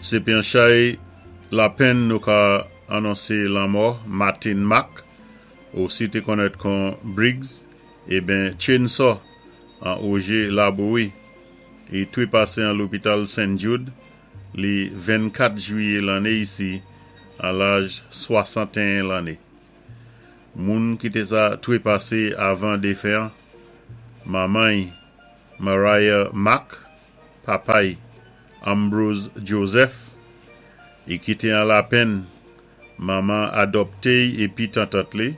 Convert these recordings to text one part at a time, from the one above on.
Sé pi an chay lapenn nou ka anonsé lanmò Martin Mack, osi té konnèt kon Briggs eben Chainsaw an Ogé Labouyi. I twépasé an lopital St. Jude li 24 jwiyé lanné isi an laj 61 lanné. Moun ki té sa twépasé avan défen an, manman-y Mariah Mack, papay Ambrose Joseph, i kité an lapenn manman adòpté-y épi tantant li,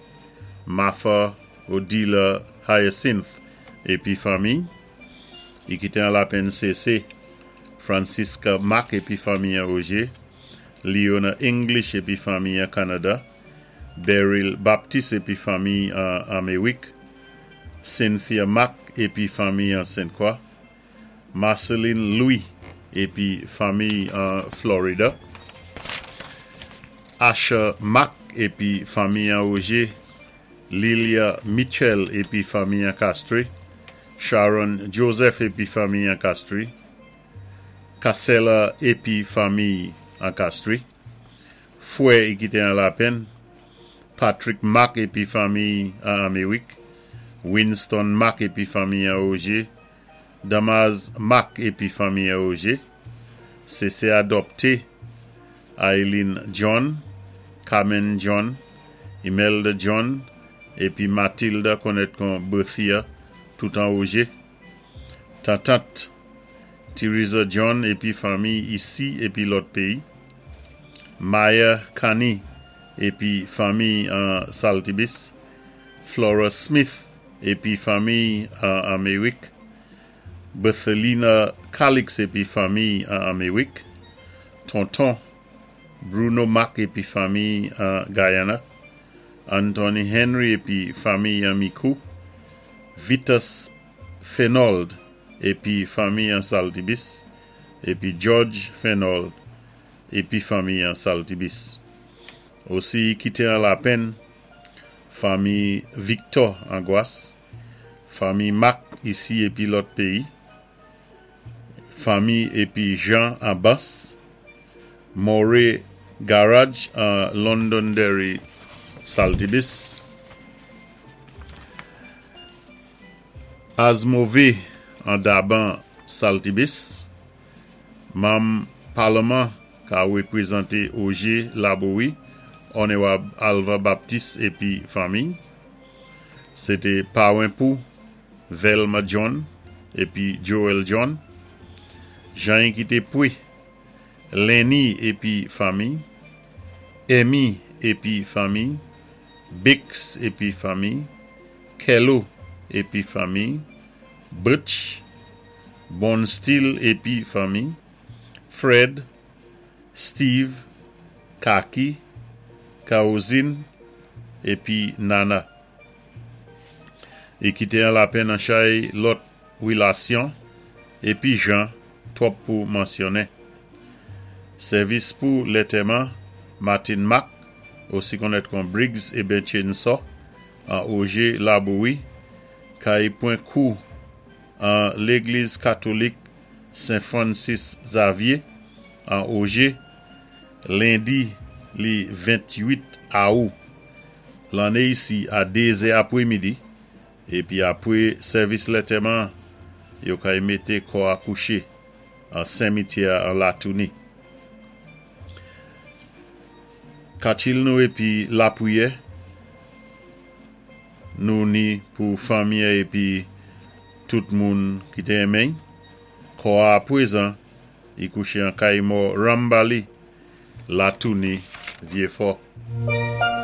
Martha Odila Hyacinth épi fanmiy. I kité an lapenn sésé Francisca Mack épi fanmiy an Ogé, Leona English épi fanmiy an Kanada, Beryl Baptiste épi fanmiy an Améwik, Cynthia Mack épi fanmiy an Sent Kwa, Marceline Louis épi fanmiy an Florida, Asher Mack épi fanmiy an Ogé, Lilia Mitchell épi fanmiy an Castries, Sharon Joseph épi fanmiy an Castries, Cassella épi fanmiy an Castries, Fwè i kité an lapenn, Patrick Mack épi fanmiy an Améwik, Winston Mack épi fanmiy an Ogé, Damas Mack épi fanmiy an Ogé, Sésé adòpté Eileen John, Carmen John, Imelda John épi Matilda konnèt kon Berthia tout an Ogé. Tantant Theresa John épi fanmiy isi épi lòt péyi, Maya Kani épi fanmiy an Saltibis, Flora Smith épi fanmiy an Améwik, Berthelina Calix épi fanmiy an Améwik, Tonton Bruno Mack épi fanmiy an Guyana, Anthony Henry épi fanmiy an Micoud, Vitus Fenold épi fanmiy an Saltibis, épi George Fenold épi fanmiy an Saltibis. Osi kité an lapenn fanmiy Victor an Gwas, fanmiy Mack isi épi lòt péyi, fanmiy épi Jean an Bans, Maury Garage an Londonderry Saltibis, Azmove an Daban Saltibis, manm palman ka wépwézanté Ogé Labouyi, Ònéwab Alva Baptiste épi fanmiy. Sé té pawen pou Velma John épi Joel John. Jan-y ki té pwé Lenny épi fanmiy, Emmy épi fanmiy, Bix épi fanmiy, Kello épi fanmiy, Butch, Bonsteel épi fanmiy, Fred, Steve, Kaki, Kawozin épi Nana. I kité an lapenn an chay lòt wilasyon épi jan twòp pou mansyonnen. Sèvis pou lètèman Martin Mack, osi konnèt kon Briggs eben Chainsaw, an Ogé Labouyi, kay pwan kou an Légliz Katolik Sen Francis Xavier an Ogé, lendi li 28 Awou lanné isi a 2 zè apwémidi, épi apwé sèvis lètèman an, yo kay mété kò a kouché an senmityè an Latouni. Katchil nou épi lapwiyè nou ni pou fanmi an épi tout moun ki té enmen-y. Kò a apwézan i kouché an kay mò Rambali, Latouni, Vyéfò.